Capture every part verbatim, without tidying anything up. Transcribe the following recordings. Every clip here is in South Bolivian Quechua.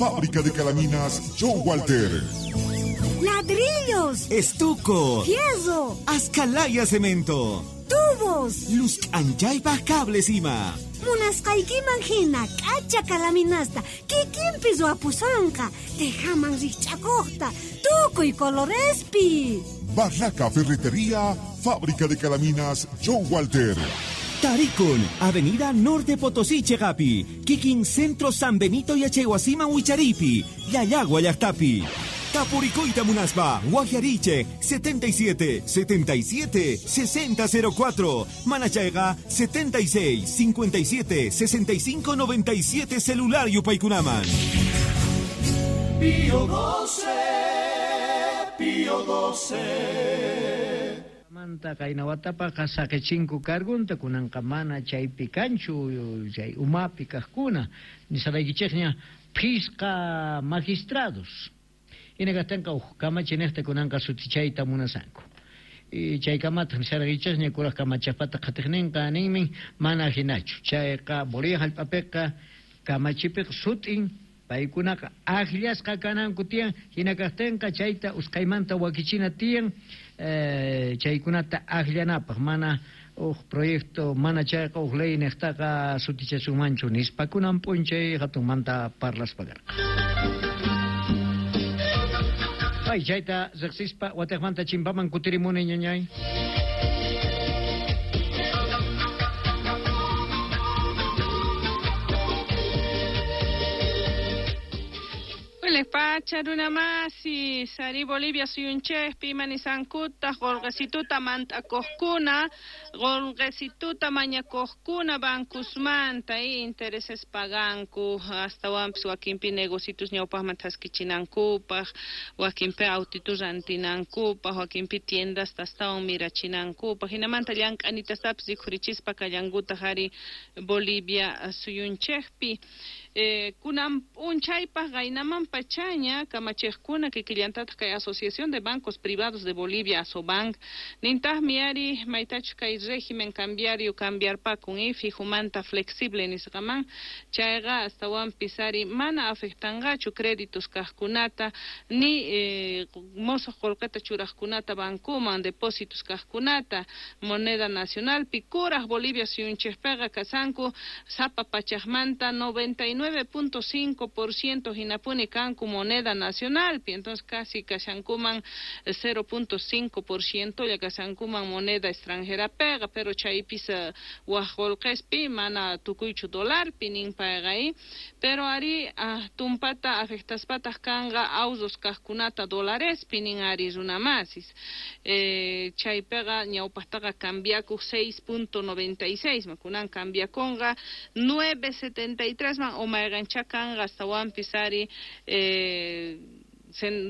Fábrica de Calaminas John Walter. Ladrillos, estuco, fierro, ascalaya cemento, tubos, luz anchaypa cables ima. Munasqaykiman hina k'acha kalaminasta kikinpi ruwapusanqa, tejaman rikch'akuqta, tukuy colorespi. Barraca Ferretería, Fábrica de Calaminas John Walter. Tarikun, Avenida Norte Potosí Chegapi, Kikin Centro San Benito Yachaywasiman Wicharipi, Llallagua llaqtapi. Tapurikuyta munaspa, Guajariche, setenta y siete, setenta y siete, sesenta cero cuatro, Manachayga, setenta y seis, cincuenta y siete, sesenta y cinco, noventa y siete, celular Yupaykunaman. Pío doce, Pío doce. Manta kaynawatapaqa saqichinku cargunta kunanqa mana chaypi kanchu chay umapi kaqkuna nisaraykichikña phisqa magistrados. Hinakaqtinqa uj kamachinejta kunanqa sutichayta munasanku. Y chaykamataq nisaraykichikña kuraq kamachaqpata qhatiqninqa ninmin mana hinachu. Chayqa Bolivia hallp'apiqa kamachipiqa sutin paykunaqa akllasqa kananku tiyan hinakaqtinqa chayta usqhaymanta wakichina tiyan eh, chaykunata akllanapaq mana uj proyecto mana chayqa uj ley niqtaqa sutichasunmanchu nispa kunan p'unchay hatunmanta parlaspa karqa. Ay, chayta riqsispa wataqmanta chimpaman kutirimuni ñañay. Pacha runamasi, sari Bolivia suyunchejpi manisankuta, qolqesituta mant'akuqkuna, qolqesituta mañakuqkuna bankusmanta y intereses paganku, astawanpis wakinpi negocitos ñawpaqman thaskichinankupaq, wakinpi autitus rantinankupaq, wakinpi tiendas astawan mirachinankupaq, hinamanta llank'anitastapis rikhurichispa kallankutaq ari Bolivia suyunchejpi. Eh, kunan p'unchaypaq qaynaman pachaña kamachiqkuna kikillantataq kay Asociación de Bancos Privados de Bolivia, ASOBANC, nintaqmi ari maytachus kay régimen cambiario cambiarpakun y fijumanta flexible nisqaman, chayqa astawanpis ari mana afectanqachu créditos kaqkunata ni eh, mosuq qullqita churaqkunata bankuman depósitos kaqkunata moneda nacionalpi kuraq Bolivia suyunchikpiqa kasanku sapa pachaqmanta noventa y nueve punto cinco por ciento hinapuni kanku moneda nacionalpi, entonces casi kashankuman cero punto cinco por ciento ya kashankuman moneda extranjera pega, pero chaypis uh, waj qullqispi mana tukuychu dolarpi nin payqa, pero ari uh, tumpata afectaspataq kanqa awsos kaqkunata dolarespi nin ari runamasis. Eh, chaypiqa ñawpaqtaqa cambiakuq seis punto noventa y seis man kunan cambiakunqa nueve setenta y tres man o mayqancha kanqa astawanpis ari eh,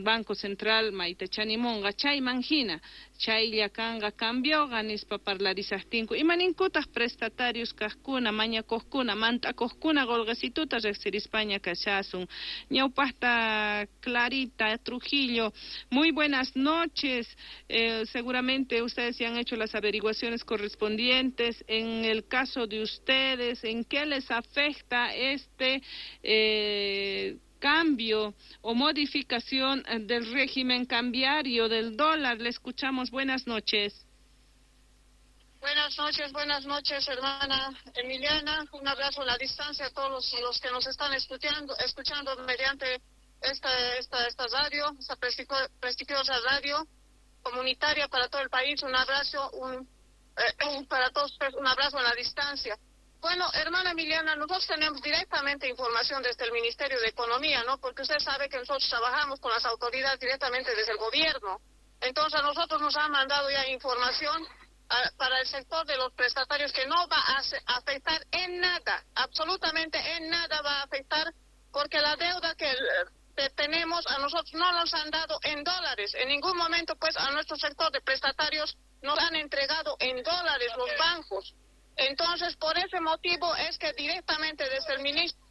Banco Central maytachanimunqa chayman hina chaylla kanqa cambioqa nispa parlarisaqtinku imaninkutaq prestatarios kaqkuna mañakuqkuna mant'akuqkuna qolqesituta riqsirispaña kashasun. Ñawpaqta Clarita Trujillo, muy buenas noches. Eh, seguramente ustedes ya han hecho las averiguaciones correspondientes. En el caso de ustedes, ¿en qué les afecta este eh, cambio o modificación del régimen cambiario del dólar? Le escuchamos. Buenas noches. Buenas noches, buenas noches, hermana Emiliana. Un abrazo a la distancia a todos los, los que nos están escuchando, escuchando mediante esta, esta, esta radio, esta prestigiosa radio comunitaria para todo el país. Un abrazo, un, eh, para todos, un abrazo a la distancia. Bueno, hermana Emiliana, nosotros tenemos directamente información desde el Ministerio de Economía, ¿no? Porque usted sabe que nosotros trabajamos con las autoridades directamente desde el gobierno. Entonces, a nosotros nos han mandado ya información a, para el sector de los prestatarios que no va a afectar en nada, absolutamente en nada va a afectar, porque la deuda que, que tenemos a nosotros no nos han dado en dólares. En ningún momento, pues, a nuestro sector de prestatarios nos han entregado en dólares los bancos. Entonces, por ese motivo es que directamente desde el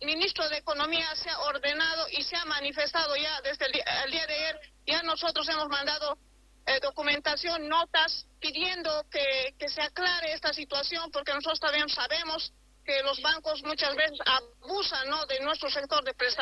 ministro de Economía se ha ordenado y se ha manifestado ya desde el día, el día de ayer, ya nosotros hemos mandado eh, documentación, notas, pidiendo que, que se aclare esta situación, porque nosotros también sabemos que los bancos muchas veces abusan, ¿no?, de nuestro sector de prestación.